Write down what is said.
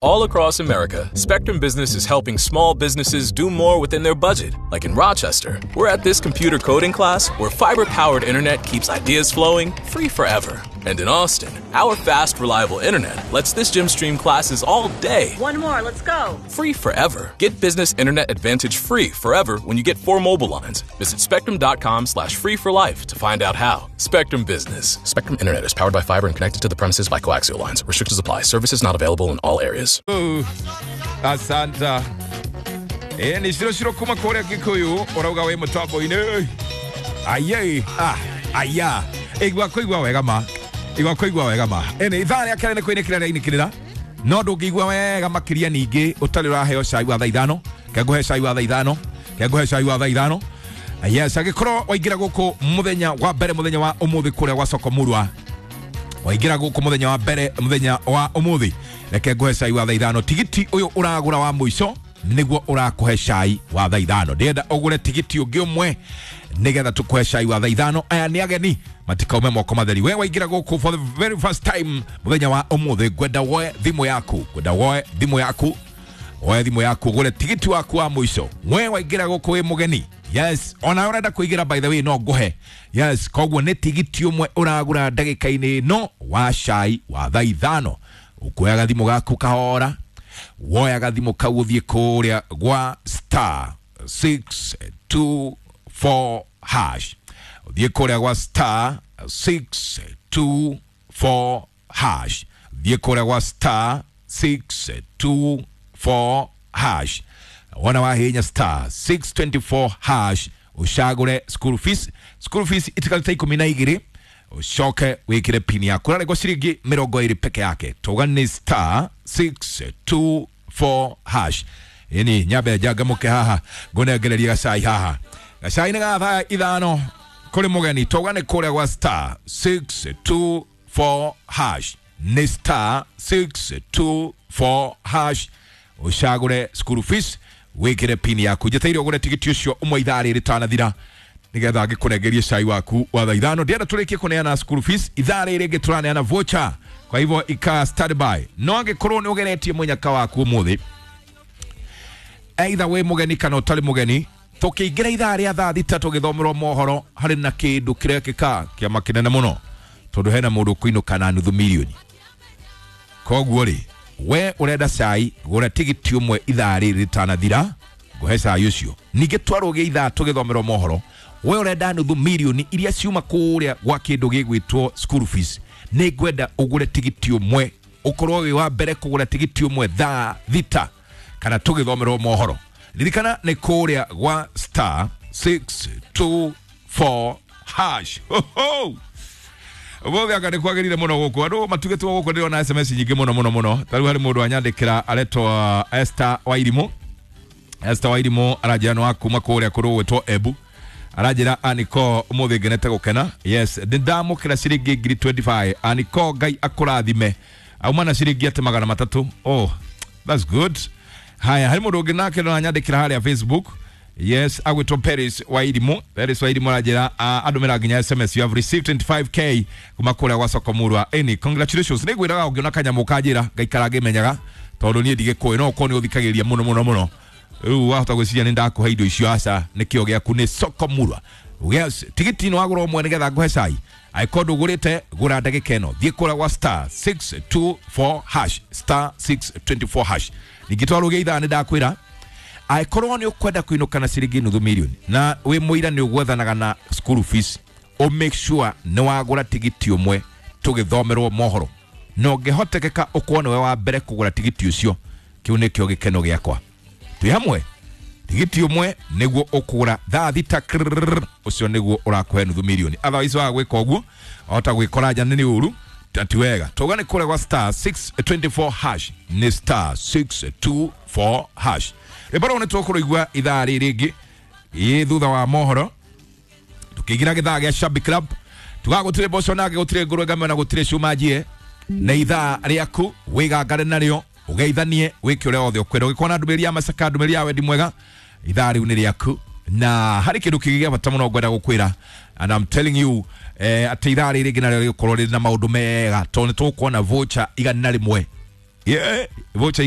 All across America, Spectrum Business is helping small businesses do more within their budget. Like in Rochester, we're at this computer coding class where fiber-powered internet keeps ideas flowing free forever. And in Austin, our fast, reliable internet lets this gym stream classes all day. One more, let's go. Free forever. Get business internet advantage free forever when you get 4 mobile lines. Visit spectrum.com/free for life to find out how. Spectrum Business. Spectrum Internet is powered by fiber and connected to the premises by coaxial lines. Restrictions apply. Services not available in all areas. Asante. Ni ciro kuma kũrĩa Gĩkũyũ ũrauga wĩ mũtambo-inĩ. Aye, aya. Igua kũigua wega ma. Igua kũigua wega ma. Ĩni ithaa rĩa kerĩ nĩ kwĩnĩkĩra rĩainĩkĩrĩra. No ndũngĩigua wega makĩria ningĩ ũtarĩ ũraheo cai wa thaa ithano. Kengũhe cai wa thaa ithano. Kengũhe cai wa thaa ithano. Yes, angĩkorwo waingĩra gũkũ mũthenya wa mbere mũthenya wa ũmũthĩ kũrĩa gwa Soko Murwa. Waingĩra gũkũ mũthenya wa mbere mũthenya wa ũmũthĩ. Reke nguhe cai wa thaa ithano. Tigiti ũyũ ũragũra wa mũico nĩguo ũrakũhe cai wa thaa ithano. Ndĩrenda ũgũre tigiti ũngĩ ũmwe nĩgetha tũkũhe cai wa thaa ithano. Aya nĩ ageni matikaume moko matheri. We waingĩra gũkũ for the very first time mũthenya wa ũmũthĩ, ngwenda woe thimũ yaku, ngwenda woe thimũ yaku, woe thimũ yaku ũgũre tigiti waku wa mũico. We waingĩra gũkũ wĩ mũgeni, yes, ona ũrenda kũingĩra by the way no ngũhe, yes. Koguo nĩ tigiti ũmwe ũragũra ndagĩka-inĩ ĩno wa cai wa thaa ithano. Ukuoya gathimũ gaku kahora, woya gathimũ kau ũthiĩ kũrĩa gwa star 624 hash. Ũthiĩ kũrĩa gwa star 624 hash. Ũthiĩ kũrĩa gwa star 624 hash. Wona wahinya star 624 hash ucagũre school fees. School fees itikarĩte 12 ucoke wikire pini yaku ũrarengwo ciringi 20 peke yake. Tuga ni star 624 hash. Ini nyambe njangamũke haha ngũnengererie gacai haha. Gacai nĩ ga thaa ithano kũrĩ mũgeni. Tuga nĩ kũrĩa gwa star 624 hash. Nĩ star 624 hash ucagũre school fees wikire pini yaku. Njeteire ũgũre tigiti ũcio ũmwe ithaa rĩrĩ rĩtanathira nigetha ngĩkũnengerie cai waku wa thaa ithano. Ndĩrenda tũrĩkie kũneana school fees ithaa rĩrĩ rĩngĩ tũraneana voucher, kwa hivyo ika standby. No angĩkorwo nĩ ũgeretie mũnyaka waku ũmũthĩ, either wĩ mũgeni kana ũtarĩ mũgeni, tũkĩingĩra ithaa rĩa thaa thita tũgĩthomerwo mohoro harĩ na kĩndũ kĩrekĩka kĩama kĩnene mũno, tondũ hena mũndũ ũkũinũka na nuthu mirioni. Koguo rĩ, we ũrenda cai, gũra tigiti ũmwe ithaa rĩrĩ rĩtanathira, ngũhe cai ũcio. Ningĩ twarũgĩa ithaa tũgĩthomerwo mohoro, we ũrenda nuthu mirioni iria ciuma kũrĩa gwa kĩndũ gĩgwĩtwo school fees, nĩ ngwenda ũgũre tigiti ũmwe, ũkorwo wĩ wa mbere kũgũra tigiti ũmwe thaa thita kana tũgĩthomerwo mohoro. Ririkana nĩ kũrĩa gwa star 624 hash. Ho ho! Ũmũthĩ anga nĩ kwagĩrĩire mũno gũkũ. Andũ matugĩtwo gũkũ, ndĩrona SMS nyingĩ mũno mũno mũno. Ta rĩu harĩ mũndũ anyandĩkĩra aretwo Esther Wairimũ. Esther Wairimũ aranjĩra nĩ wa kuma kũrĩa kũrũ gwĩtwo Embu. Aranjĩra Aniko ũmũthĩ ngenete gũkena. Yes, nĩ ndamũkĩra ciringi ngiri 25. Aniko Ngai akũrathime. Auma na ciringi atĩ 300. Oh, that's good. Haya, harĩ mũndũ ũngĩ nake no anyandĩkĩra harĩa Facebook. Yes, agwĩtwo Paris Wairimũ. Paris Wairimũ aranjĩra andũmĩra nginya SMS, you have received 25k kuma kũrĩa gwa Soko Murwa. Ĩni, congratulations. Nĩ ngwĩraga ũngĩona kanyamũ kanjĩra ngaikara ngĩmenyaga, tondũ niĩ ndigĩkũĩ, no ũkorwo nĩ ũthikagĩrĩria mũno mũno mũno. Rĩu wahota gwĩciria nĩ ndakũhe indo icio, aca nĩkĩo gĩaku nĩ Soko Murwa. Yes, tigiti nĩ wagũra ũmwe nĩgetha ngũhe cai. Angĩkorwo ndũgũrĩte, gũra ndagĩka ĩno. Thiĩ kũrĩa gwa star 624 hash, star 624 hash. Ningĩ twarũgĩa ithaa nĩ ndakwĩra angĩkorwo nĩ ũkwenda kũinũka na ciringi nuthu mirioni na wĩ mũira nĩ ũgwethanaga na school fees, ũ make sure nĩ wagũra tigiti ũmwe tũgĩthomerwo mohoro. Na ũngĩhotekeka ũkorwo nĩwe wa mbere kũgũra tigiti ũcio, kĩu nĩkĩo gĩkeno gĩakwa. Twĩ hamwe, tigiti ũmwe nĩguo ũkũgũra thaa thita krrrr, ũcio nĩguo ũrakũhe nuthu mirioni. Otherwise waga gwĩka ũguo wahota gwĩkora nja nĩ ũru na ti wega. Tauga nĩ kũrĩa gwa star 624 hash, nĩ star 624 hash. Rwĩmbo rũu nĩ tũkũrũigua ithaa rĩrĩ rĩngĩ ĩ thutha wa mohoro tũkĩingĩra gĩthaa gĩa Shabby Club. Tugaga gũtirĩ mboco nake, gũtirĩ ngũrwe ngame na gũtirĩ cuma njie. Nĩ ithaa rĩaku wĩgangare narĩo, ũgeithanie, wĩke ũrĩa wothe ũkwenda. Ũgĩkorwo na ndũmĩrĩri ya macaka, ndũmĩrĩri ya wendi mwega, ithaa rĩu nĩ rĩaku. Na harĩ kĩndũ kĩngĩ gĩa bata mũno ngwenda gũkwĩra, and I'm telling you, atĩ ithaa rĩrĩ rĩngĩ narĩo rĩgũkorwo rĩrĩ na maũndũ mega, tondũ nĩ tũkuona voucher 101 Yeah, vocha